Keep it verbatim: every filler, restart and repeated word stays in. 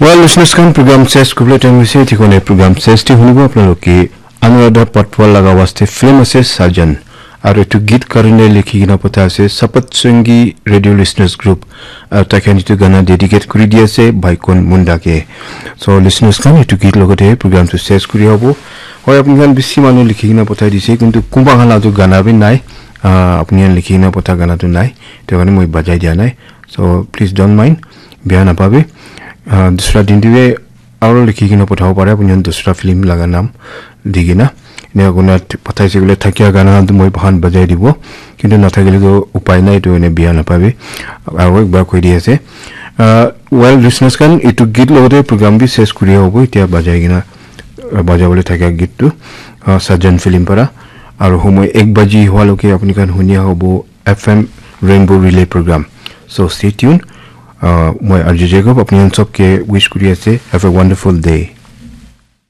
Well, listeners khan, program ses kubla time ase, thikone program ses te hunibo apnaloke Anuradha Patwal laga waste film ase Sajan. Aru etu git karne likhi kena patha ase Sapat Sangi Radio Listeners Group. Aru taikhan etu gana dedicate kuri di ase Baikon Munda ke. So listeners khan, etu git logote program tu ses kuri hobo. Hoi, apni khan bisi manu likhi kena pathai dise, kintu kunba khan la tu gana bi nai. Ah, apni khan likhi kena patha gana tu nai. Etu karne moi bajai dia nai. So please don't mind. Beya napabi. Ah, dusra din te bi aru likhi kena pathabo pare, apni khan dusra film laga naam di kena. Enia kurina pathaise koile thakia gana khan tu moi bahan bajai dibo. Kintu nathakile tu upai nai, tu ene beya napabi. Aru ekbar koi di ase. Ah, well, listeners khan, etu git logote program bi ses kuri hobo. Etia bajai kena, ah, bajabole thakia git tu, ah, Sajan film para. Aru homoi ek baji hua loke apni khan hunia hobo F M Rainbow Relay Program. So stay tuned. Uh, moi R J Jacob, apni khan sob ke wish kuri ase. Have a wonderful day.